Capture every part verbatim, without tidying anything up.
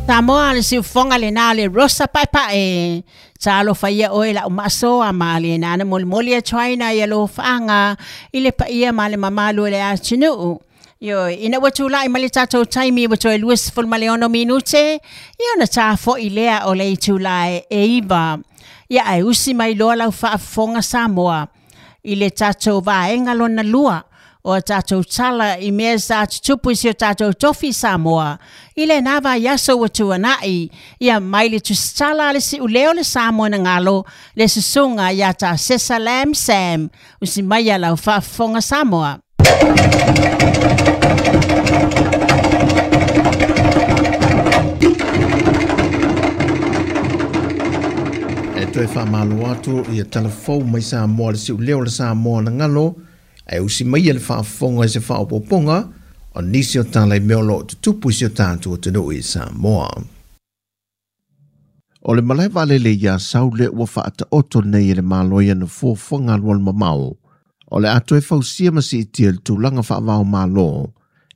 Samoa le siufoga lena le Rosa Paepae. Talofa ia oe lau maasoa ma lena na molimoli atuaina ia alofaaga i le paia ma le mamalu o le atunuu. Ioe, ina ua tulai mai le tatou taimi ua toe luasefulu ma le ono minute, ia ona tafo'i lea o le itula e iva. Ia ae usi mai loa lau faafofoga Samoa i le tatou vaega lona lua o a tatou tala i mea sa tutupu i si o tatou tofi Samoa i lena vaiaso ua tuana'i, ia mai le tusitala a le si'uleo le Samoa na galo le susuga ia Tasesa Lam Sam. Usi mai ia lau faafofoga Samoa. E toe faamalo atu ia talafou mai Samoa le si'uleo le Samoa na galo e usi mai le faafofoga i se faaopoopoga o nisi o tala i mea o loo tutupu i si o tatou atunuu i Samoa. O le malae vaalele ia Saule ua faataoto nei e le Malo i ana fuafuaga alualumamao o le a toe fausia ma siitia le tulaga faavaomalo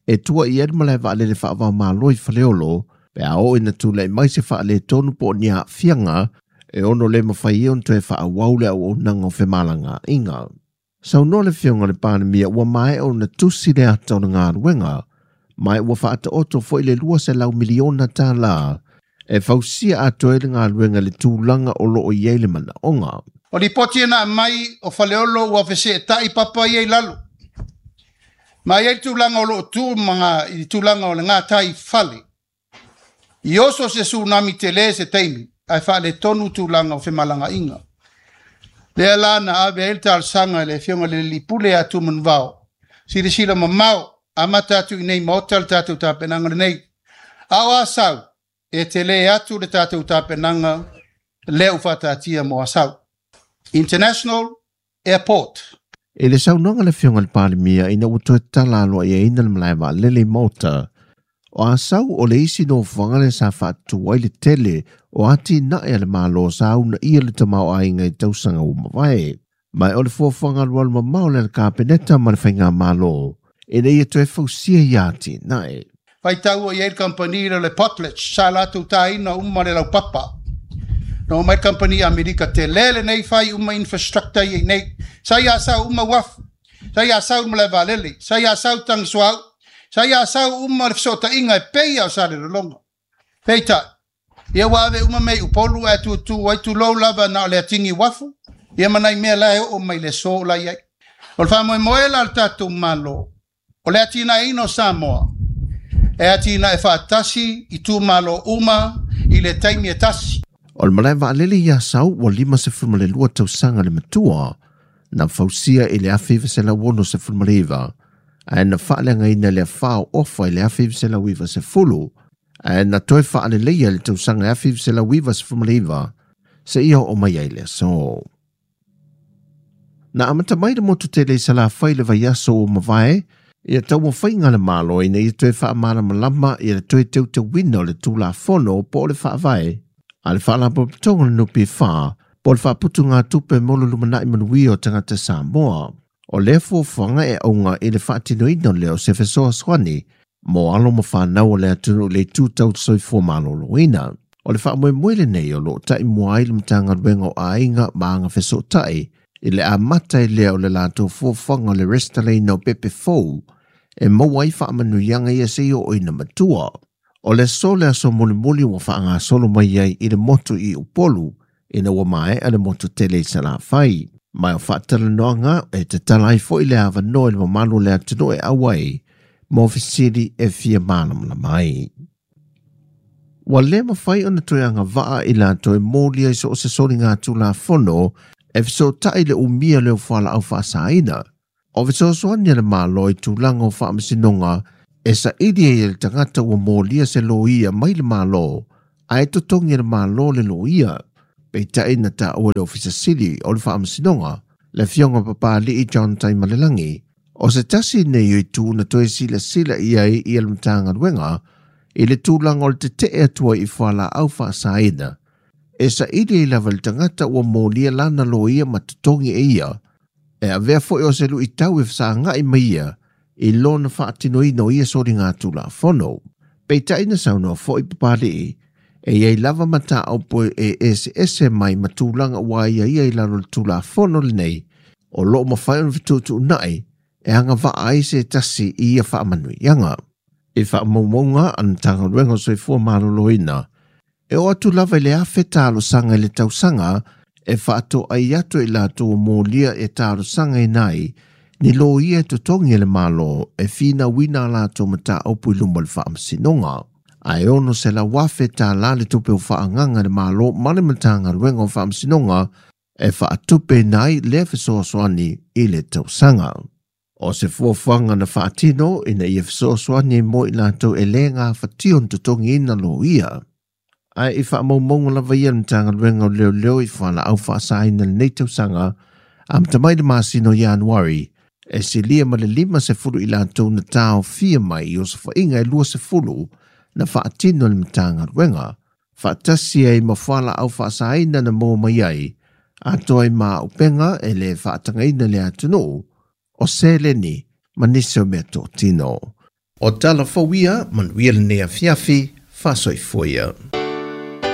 e tua i ai le malae vaalele faavaomalo i Faleolo pe a oo ina tulai mai se faaletonu po o ni aafiaga e ono le mafai ai ona toe faaauau le auaunaga o femalagaaiga. Saunoa le Afioga i le Palemia ua maea ona tusi le ata o le galuega ma ua faataoto foi le lua selau miliona tālā e fausia atoa ai le galuega i le tulaga o loo i ai le manaoga. O lipoti e na mai o Faleolo ua feseetai papa ia i lalo. Ma ia i tulaga o loo tu ma i tulaga o le gatai fale. I oso se tsunami tele se taimi, ae faaletonu tulaga o femalagaaiga. Lea la na ave ai le talosaga i le Afioga i le Alii Pule ia Tumanuvao. Silasila mamao, amata atu i nei maota le tatou tapenaga lenei. A o Asau, e tele atu le tatou tapenaga lea ua faataatia mo Asau. International Airport. E le saunoaga le Afioga i le Palemia ina ua toe tatala aloaiaina le malae vaalele i Maota. O Asau o le isi nofoaga le sa faatutu ai le tele o atinae a le Malo sa uunaia le tamaoaiga i tausaga ua mavae. Ma o le fuafuaga alualumamao lea a le Kapeneta ma le Faigamalo ina ia toe fausia ia atinae. Faitau i ai le kamupani lea o le Potlatch, sa latou taina uma le laupapa. Na omai le kamupani Amerika tele lenei fai uma infrastructure ia i nei. Sa i Asau uma uafu, sa i Asau le malae vaalele, sa i Asau tagisuauu, sa i Asau uma le fesootaiga e pei o Salelologa. Peitai, ia ua ave uma mea i Upolu ae tutu ai tulou lava na o le atigi uafu, ia ma nai mea la e oo mai le aso o la i ai. O le faamoemoe la o le tatou Malo, o le atinaeina o Samoa, e atinae faatasi i itumalo uma i le taimi e tasi. O le malae vaalele i Asau ua limasefulu ma le lua tausaga le matua na fausia i le afe iva selau ono sefulu ma le iva ae na faaleagaina le afa o Ofa i le afe iva selau iva sefulu ae na toe faaleleia i le tausaga afe iva selau iva sefulu ma le iva seia oo mai ai le aso. Na amata mai le motu tele i Salafai le vaiaso ua mavae ia taumafaiga le Malo ina ia toe faamalamalama ia le toe teuteuina o le Tulafono po o le faavae a le Faalapotopotoga o le N P F po o le faaputugatupe mo le lumanai manuia o tagata Samoa. O lea fuafuaga e auga i le faatinoina lea o se fesoasoani mo alo ma fanau o le atunuu i le itu tau soifua maloloina. O le faamoemoe lenei o loo taimua ai le Matagaluega o Aiga ma Agafesootai i le amata i lea o le latou fuafuaga o le resitalaina o pepe fou e maua ai faamanuiaga ia seia oo ina matua. O le aso le aso mulimuli ua faagasolo mai ai i le motu i Upolu ina ua maea le motu tele i Salafai. Ma o faatalanoaga e tatala ai foi le avanoa i le mamalu o le atunuu e auai mo fesili e fia malamalama ai. Ua le mafai ona toe agavaa i latou e molia i so o se soliga Tulafono e fesootai le umia leo fualaau faasaina. O fesoasoani a le Malo i tulaga o faamasinoga e saili ai e le tagata ua molia se loia mai le Malo ae totogi e le Malo le loia. Peitai na taua le Ofisa Sili o le Faamasinoga le Afioga Papali'i John Taimalelagi o se tasi nei o itu na toe silasila i ai ia le Matagaluega i le tulaga o le tetee atu ai i fualaau faasaina e saili ai lava le tagata ua molia lana loia ma totogi e ia e avea foi o se luitau e fesagai mai ia i lona faatinoina o ia soliga Tulafono. Peitai na saunoa fo'i Papali'i, e iai lava mataupu e eseese mai ma tulaga ua aiaia i lalo o le Tulafono lenei, o loo mafai ona fetuutuunai e agavaa ai se tasi i ia faamanuiaga. I faamaumauga a le Matagaluega o Soifua Maloloina, e oo atu lava i le afe talosaga i le tausaga e faatoai atu i latou molia e talosagaina ai ni loia e totogi e le Malo e finauina a latou mataupu i luma o le faamasinoga. Ae ono selau afe tālā le tupe o faagaga e le Malo ma le Matagaluega o Faamasinoga e faatupeina ai lea fesoasoani i le tausaga. O se fuafuaga na faatino ina ia fesoasoani ai mo i latou e le gafatia ona totogiina loia. Ae i faamaumauga lava ia le Matagaluega o Leoleo i fualaau faasaina i lenei tausaga amata mai le masina o Ianuari, e silia ma le lima sefulu i latou na taofia mai i osofaiga e lua sefulu na faatino e le Matagaluega, faatasi ai ma fualaau faasaina na maua mai ai, atoa ai ma auupega e le faatagaina i le atunuu, o seleni ma nisi o mea totino. O tala fou ia, manuia lenei afiafi, faasoifua ia.